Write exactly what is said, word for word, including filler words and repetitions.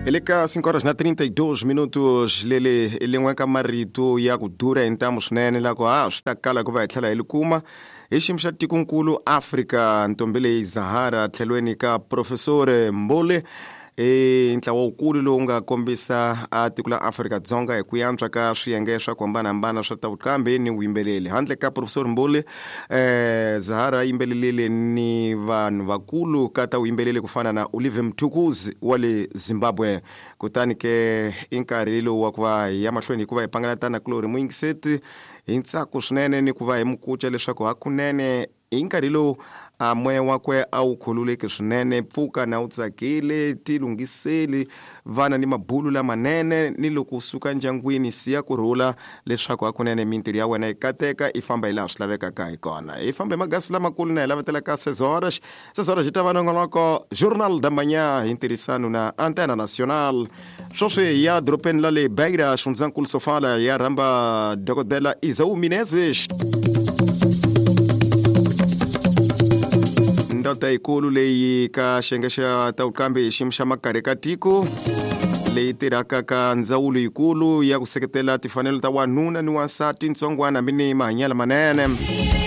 Hi le ka cinco horas na trinta e dois minutos lele i lin'we ka marito ya ku durha hi ntamu swinene la ku ha swi ta kala ku va hi tlhela hi li kuma hi xiyimo xa tikonkulu Afrika. Ntombi leyi Zahara tlhelweni ka Professor Mbule i ntlawa wukulu lowu nga kombisa a tiko la Afrika-Dzonga hi ku yantswa ka swiyenge swa ku hambanahambana swa ta vuqambi ni vuyimbeleri. Handle ka Professor Mbule, eh, Zahara yimbelelile ni vanhu vakulu ka ta vuyimbeleri ku fana na Olive Mtukuzi wa le Zimbabwe. Kutani ke i nkarhi lowu wa ku va hi ya mahlweni hikuva hi pangalatana kulori muyingiseti hi ntsako swinene ni ku va hi mukuca leswaku hakunene hi nkarhi lowu a moya wakwe a wu khululeki swinene. Pfuka na wu tsakile, tilunghiseli vana ni mabulu lamanene, ni loko u suka ndyangwini siya kurhula leswaku hakunene mintirho ya wena yi kateka i famba hi laha swi lavekaka hi kona. Hi famba hi magasi lamakulu na hi lavetela ka seis horas. Seis horas yi ta va nongonoko Journal da Manhã hi ntirhisano na Antena Nacional. Sweswi hi ya doropeni la le Beira, xifundzankulu Sofala, ya rhamba dokodela Isau Menezes, ndoda yikulu leyi ka xiyenge xa ta vuqambi hi xiyimo xa makarhi ka tiko, leyi tirhaka ka ndzawulo yikulu ya ku seketela timfanelo ta wanuna ni wansati, ntsongwana hambi ni mahanyelo manene.